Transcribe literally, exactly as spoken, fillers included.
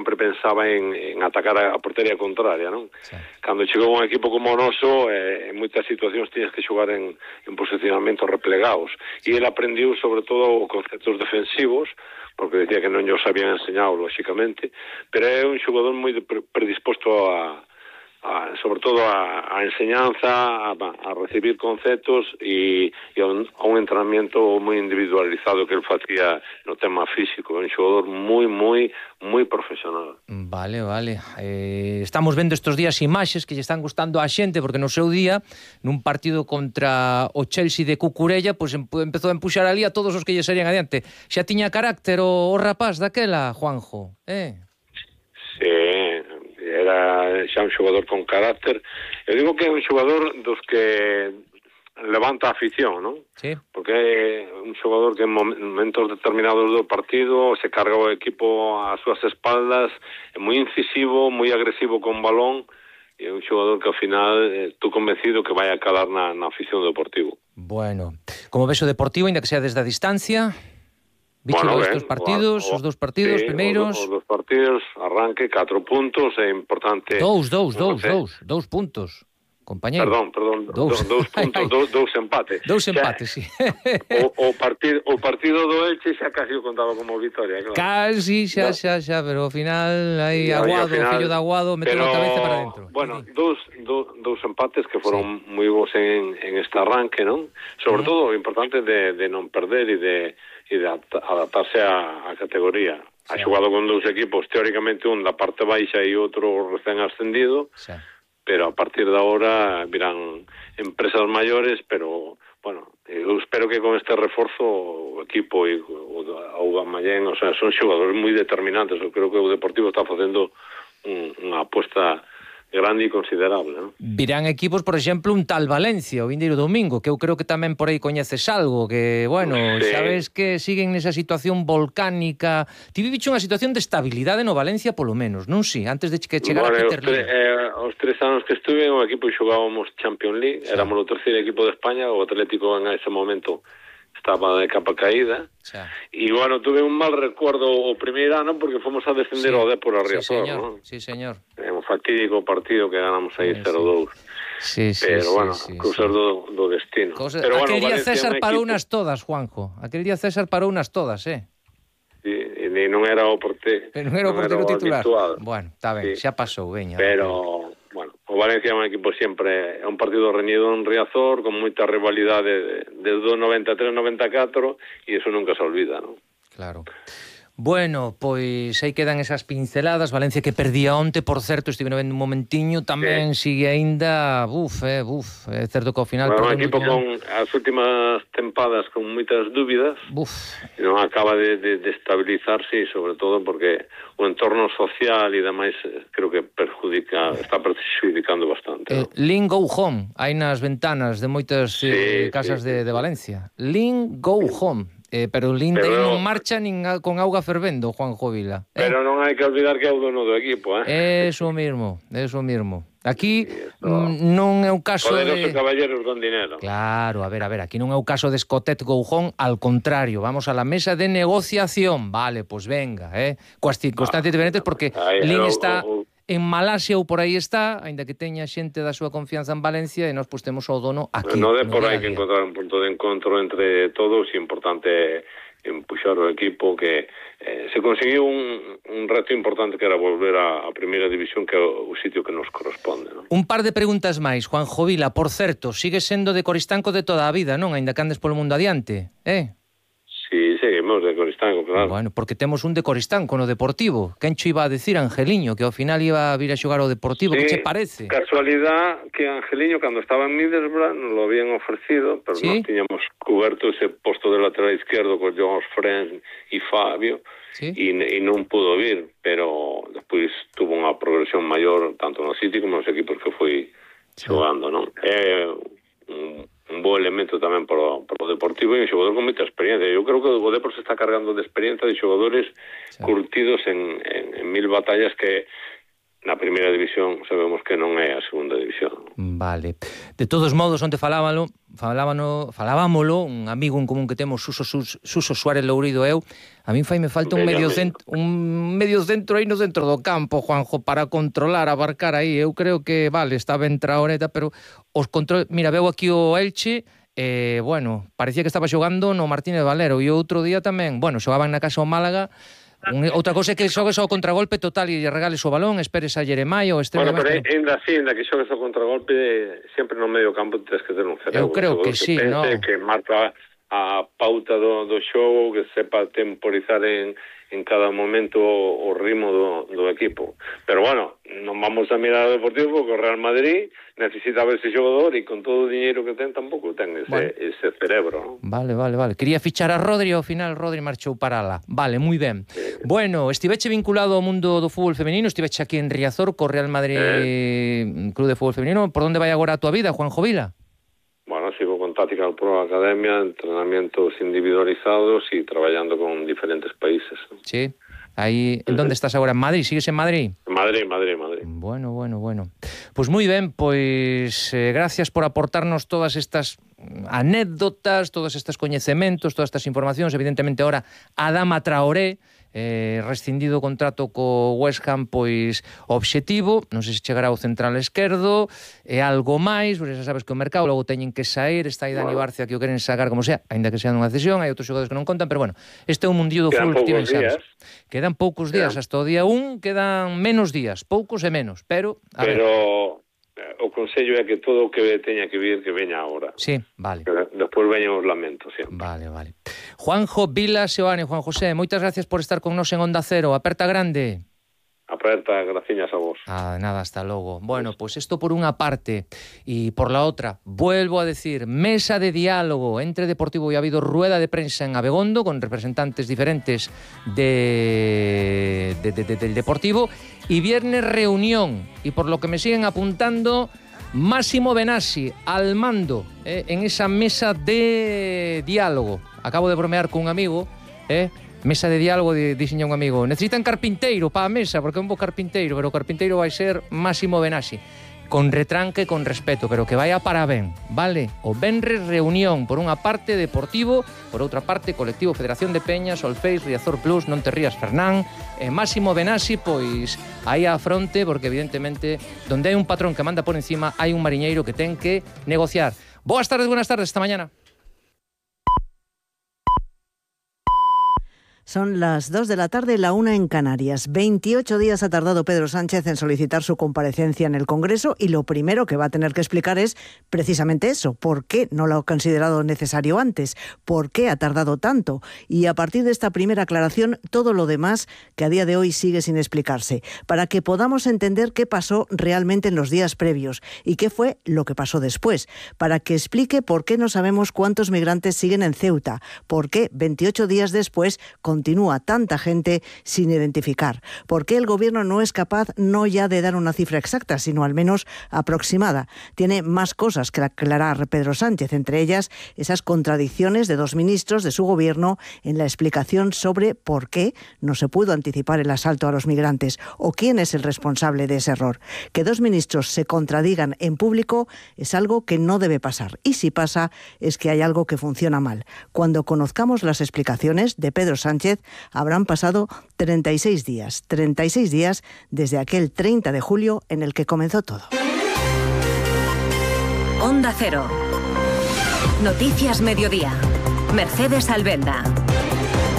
sempre pensaba en, en atacar a, a portería contraria, non? Sí. Cando chegou un equipo como o noso, eh, en moitas situacións tiñas que xogar en, en posicionamentos replegados, e ele aprendiu sobre todo conceptos defensivos, porque decía que non os habían enseñado, lóxicamente, pero é un xogador moi predisposto a A, sobre todo a, a enseñanza, a, a recibir conceptos e, e a, un, a un entrenamiento moi individualizado que ele facía no tema físico. Un xogador moi, moi, moi profesional. Vale, vale. Eh, estamos vendo estes días imaxes que lle están gustando á xente, porque no seu día, nun partido contra o Chelsea de Cucurella, pois pues empezou a empuxar ali a todos os que lle serían adiante. Xa tiña carácter o, o rapaz daquela, Juanjo, eh? Sí, era xa un xogador con carácter. Eu digo que é un xogador dos que levanta a afición, non? Sí. Porque é un xogador que en momentos determinados do partido se carga o equipo ás súas espaldas, é moi incisivo, moi agresivo con balón, e é un xogador que ao final estou convencido que vai a calar na, na afición do Deportivo. Bueno, como ves o Deportivo, ainda que sea desde a distancia... Bicho, bueno, estes partidos, o, os dous partidos sí, primeiros... Os dous partidos, arranque, catro puntos, é importante... Dous, dous, dous, dous, dous puntos, compañero. Perdón, perdón, dous, dous puntos, dous, dous empates. Dous empates, sí. O, o, partido, o partido do Elche xa casi o contaba como victoria, claro. Casi, xa, xa, xa, pero ao final aí Aguado, o fillo de Aguado, meteu a cabeza para dentro. Bueno, dous, dous, dous empates que foron sí. moi bons en, en este arranque, non? Sobre uh -huh. todo o importante de, de non perder e de... e de adaptarse á categoría. Sí. Ha xogado con dous equipos, teóricamente un da parte baixa e outro recén ascendido, sí. pero a partir de ahora virán empresas maiores, pero, bueno, eu espero que con este reforzo o equipo e o Aubameyang, o sea, son xogadores moi determinantes. Eu creo que o Deportivo está facendo un, unha aposta grande e considerable, non? Virán equipos, por exemplo, un tal Valencia o vindeiro domingo, que eu creo que tamén por aí coñeces algo, que, bueno, sí. sabes que siguen nesa situación volcánica. Ti viviche unha situación de estabilidade no Valencia, polo menos, non si? Antes de que chegara bueno, Peter Lim. Eh, os tres anos que estuve en o equipo e xogábamos Champions League, sí. éramos o terceiro equipo de España, o Atlético en ese momento estaba de capa caída, e, sí. bueno, tuve un mal recuerdo o primeiro ano porque fomos a descender sí. ao Dépor a Riazor, sí, non? Sí, señor. É un fatídico partido que ganamos aí sí, cero dous. Sí, sí, pero, sí, bueno, sí, cosas sí. do, do destino. Cosa... Pero, Aquel bueno, día César parou equipo... unas todas, Juanjo. Aquel día César parou unas todas, eh? Sí, e non era o portero. Pero non era o portero titular. Habituado. Bueno, está ben, sí. xa pasou, veña. Pero... Bueno, o Valencia é un equipo sempre, é un partido reñido en Riazor, con moita rivalidade desde o noventa e tres noventa e catro, e iso nunca se olvida, non? Claro. Bueno, pois aí quedan esas pinceladas. Valencia que perdía onte, por certo, estive vendo un momentiño, tamén sí. sigue aínda, buf, eh, buf, é certo que ao final... Bueno, un equipo con as últimas tempadas con moitas dúbidas, buf. non acaba de, de, de estabilizarse, e sobre todo porque o entorno social e demais creo que perjudica, está perjudicando bastante. Eh, ¿no? Lean Go Home, hai nas ventanas de moitas sí, eh, casas sí, de, de Valencia. Lean Go Home. Eh, pero o Linda aí non marcha nin a, con auga fervendo, Juanjo Vila. Eh? Pero non hai que olvidar que é o dono do equipo, eh? Eso mismo, eso mismo. Aquí mm, non é o caso Poderoso de... caballeros con dinero. Claro, a ver, a ver, aquí non é o caso de Escotet Goujón, al contrario, vamos a la mesa de negociación. Vale, pues venga, eh? Coas circunstancias ah, diferentes, porque aí, Lin está... O, o, en Malasia ou por aí está, aínda que teña xente da súa confianza en Valencia, e nós pustemos ao dono aquí. No de por aí que encontrar un punto de encontro entre todos, e importante empuxar o equipo, que eh, se conseguiu un, un reto importante que era volver a, a primeira división, que é o, o sitio que nos corresponde, non? Un par de preguntas máis, Juanjo Vila. Por certo, sigue sendo de Coristanco de toda a vida, non? Aínda que andes polo mundo adiante, eh? Sí, seguimos de Coristanco, claro. Bueno, porque temos un de Coristanco no Deportivo. Quen cho iba a decir, Angeliño, que ao final iba a vir a xogar ao Deportivo? Sí, que che parece? Casualidad que Angeliño, cando estaba en Middlesbrough, nos lo habían ofrecido, pero ¿sí? Nos tiñamos cuberto ese posto de lateral izquierdo con Jones Friend e Fabio, ¿sí? e, e non pudo vir, pero despois tuvo unha progresión maior, tanto no City como nos equipos que foi sí. xogando, non? É un... un bo elemento tamén para o, para o Deportivo, e un xogador con moita experiencia. Eu creo que o Deportivo se está cargando de experiencia de xogadores sí. curtidos en, en, en mil batallas que na primeira división sabemos que non é a segunda división. Vale. De todos modos, onte falábalo, falábano, falábamolo, un amigo en común que temos, Suso, Suso, Suso Suárez Lourido eu, a min fai me falta un medio centro, un medio centro aí no centro do campo, Juanjo, para controlar, abarcar aí. Eu creo que, vale, está ben Traoreta, pero os control... Mira, veo aquí o Elche, eh, bueno, parecía que estaba xogando no Martínez Valero, e outro día tamén, bueno, xogaban na casa o Málaga. Un, outra cosa é que xogues ao contragolpe total e regales o balón, esperes a Jeremai ou extremo. Bueno, pero ainda así, ainda que xogues ao contragolpe, sempre no medio campo tens que ter un cerebro. Eu creo que, que sí, pense, no? Que marca a pauta do, do xogo, que sepa temporizar en, en cada momento o, o ritmo do, do equipo. Pero bueno, non vamos a mirar o Deportivo porque o Real Madrid necesita ver ese xogador e con todo o diñeiro que ten tampouco ten ese, bueno. ese cerebro, ¿no? Vale, vale, vale. Quería fichar a Rodri e ao final Rodri marchou para lá. Vale, moi ben. Sí. Bueno, estiveche vinculado ao mundo do fútbol femenino, estiveche aquí en Riazor co Real Madrid eh. Club de Fútbol Femenino. Por onde vai agora a tua vida, Juanjo Vila? Bueno, sigo con Tactical Pro Academia, entrenamientos individualizados y trabajando con diferentes países. Sí. Aí, ¿en dónde estás agora? En Madrid? Sigues en Madrid? Madrid, Madrid, Madrid. Bueno, bueno, bueno. Pues moi ben, pois eh, gracias por aportarnos todas estas anécdotas, todos estes coñecementos, todas estas informacións. Evidentemente, ahora Adama Traoré, eh, rescindido o contrato co West Ham, pois obxectivo, non sei se chegará ao central esquerdo, e algo máis, porque xa sabes que o mercado logo teñen que sair, está aí Dani Barcia que o queren sacar como sea, aínda que sea nunha cesión, hai outros xogadores que non contan, pero bueno, este é o mundillo do fútbol que ti ben sabes. Quedan poucos días, hasta o día un quedan menos días, poucos e menos, pero a pero ver. O consello é que todo o que teña que vir que veña agora. Sí, vale. Que despois veñan os lamentos, sempre. Vale, vale. Juanjo Vila Seoane, Juan José, moitas gracias por estar con nos en Onda Cero. Aperta grande. Aperta, graciñas a vos. Ah, nada, hasta logo. Bueno, pues esto por una parte y por la otra, vuelvo a decir, mesa de diálogo entre Deportivo y ha habido rueda de prensa en Abegondo con representantes diferentes de, de, de, de, del Deportivo y viernes reunión y por lo que me siguen apuntando, Máximo Benassi al mando eh, en esa mesa de diálogo. Acabo de bromear con un amigo, eh, mesa de diálogo, dixenlle un amigo, necesitan carpinteiro para a mesa, porque é un bo carpinteiro, pero o carpinteiro vai ser Máximo Benassi, con retranque, con respeto, pero que vaya para ben, vale? O venres reunión, por unha parte Deportivo, por outra parte Colectivo Federación de Peñas, Solfeis, Riazor Plus, Non te rías Fernán, e Máximo Benassi, pois aí á fronte, porque evidentemente, donde hai un patrón que manda por encima, hai un mariñeiro que ten que negociar. Boas tardes, buenas tardes, esta mañana. Son las dos de la tarde, la una en Canarias. veintiocho días ha tardado Pedro Sánchez en solicitar su comparecencia en el Congreso y lo primero que va a tener que explicar es precisamente eso. ¿Por qué no lo ha considerado necesario antes? ¿Por qué ha tardado tanto? Y a partir de esta primera aclaración, todo lo demás que a día de hoy sigue sin explicarse, para que podamos entender qué pasó realmente en los días previos y qué fue lo que pasó después, para que explique por qué no sabemos cuántos migrantes siguen en Ceuta, por qué veintiocho días después continúa tanta gente sin identificar. ¿Por qué el gobierno no es capaz no ya de dar una cifra exacta, sino al menos aproximada? Tiene más cosas que aclarar Pedro Sánchez, entre ellas esas contradicciones de dos ministros de su gobierno en la explicación sobre por qué no se pudo anticipar el asalto a los migrantes o quién es el responsable de ese error. Que dos ministros se contradigan en público es algo que no debe pasar. Y si pasa, es que hay algo que funciona mal. Cuando conozcamos las explicaciones de Pedro Sánchez, habrán pasado treinta y seis días, treinta y seis días desde aquel treinta de julio en el que comenzó todo. Onda Cero. Noticias Mediodía. Mercedes Albenda.